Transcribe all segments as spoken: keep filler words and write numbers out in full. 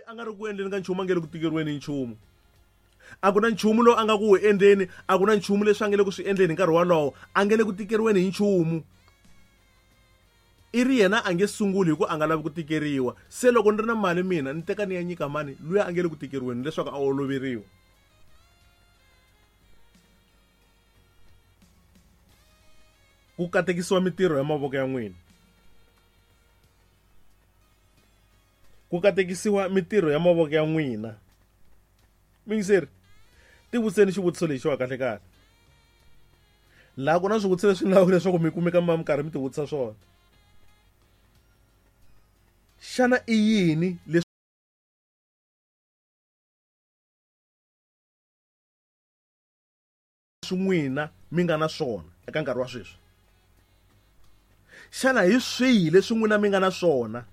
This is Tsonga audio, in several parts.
a nga ri ku endleni ka nchumu a nge le ku tikeriweni hi nchumu. A ku na nchumu lowu a nga ku wu endleni, a ku na nchumu leswi a nge le ku swi endleni hi nkarhi wolowo, a nge le ku tikeriweni hi nchumu. I ri yena a nge sunguli hi ku a nga lavi ku tikeriwa. Se loko ni ri na mali mina ni teka ni ya nyika mani luya a nge le ku tikeriweni leswaku a oloveriwa. Ku katekisiwa mitirho ya mavoko ya n'wina. Ku katekisiwa mitirho ya mavoko ya n'wina. Mingiseri, tivutiseni xivutiso lexiwa kahle kahle. Laha ku na swivutiso leswi ni lavaka leswaku mi kumeka mi karhi mi tivutisa swona. Xana i yini leswi n'wina mi nga na swona eka nkarhi wa sweswi? Xana hi swihi leswi n'wina mi nga na swona?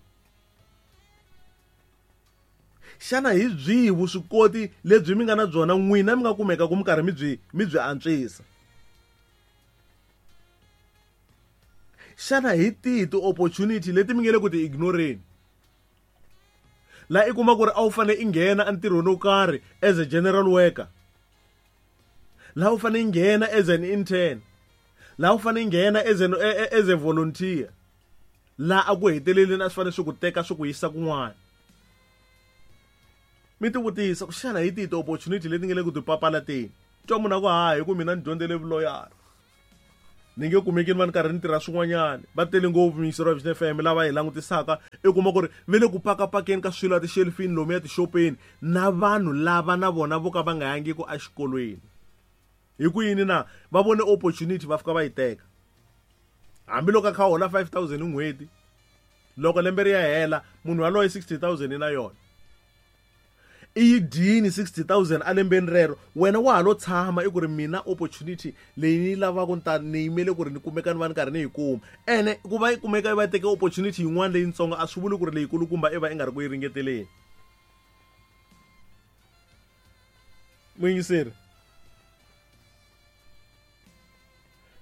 Xana hi byihi vuswikoti lebyi mi nga na byona n'wina mi nga kumeka ku mi karhi mi byi mi byi antswisa? Xana hi tihi ti-opportunity leti mi nge le ku ti ignoreni? Laha i kuma ku ri a wu fanele i nghena entirhweni wo karhi as a general worker. Laha u fanele i nghena as an intern. Laha u fanele i nghena as an as a volunteer. Laha a ku heteleleni a swi fanele swi ku teka swi ku yisa kun'wana. Mi tivutisa ku xana hi tihi ti-opportunity leti nge le ku ti papalateni? Twa munhu a ku ha hi ku mina ni dyondzele vuloyara. Ni nge kumeki ni va ni karhi ni tirha swin'wanyana. Va tele ngopfu miyingiseri wa Vision F M lava hi langutisaka, i kuma ku ri ve le ku pakapakeni ka swilo etixelifini lomuya tixopeni na vanhu lava na vona vo ka va nga yangiku exikolweni. Hi ku yini na? Va vone opportunity va fika va yi teka. Hambiloko a kha a hola five thousand hi n'hweti, loko lembe ri ya hela munhu yaloye sixty thousand na yona. I yi dyini sixty thousand a lembeni rero, wena wa ha lo tshama i ku ri mina opportunity leyi ni yi lavaka ni ta ni yimele ku ri ni kumeka ni va ni karhi ni yi kuma. Ene ku va yi kumeka yi va yi teke opportunity yin'wana leyitsongo a swi vuli ku ri leyikulukumba i va i nga ri ku yi ringeteleni. Muyingiseri,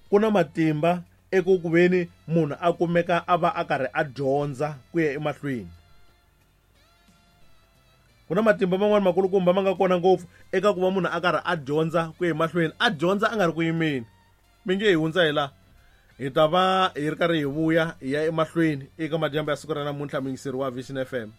ku na matimba eku ku veni munhu a kumeka a va a karhi a dyondza ku ya emahlweni. Ku na matimba man'wani makulukumba ma nga kona ngopfu eka ku va munhu a karhi a dyondza ku ya emahlweni, a dyondza a nga ri ku yimeni. Mi nge hi hundza hi laha, hi ta va hi ri karhi hi vuya hi ya emahlweni eka madyambu ya siku ra namuntlha, muyingiseri wa Vision F M.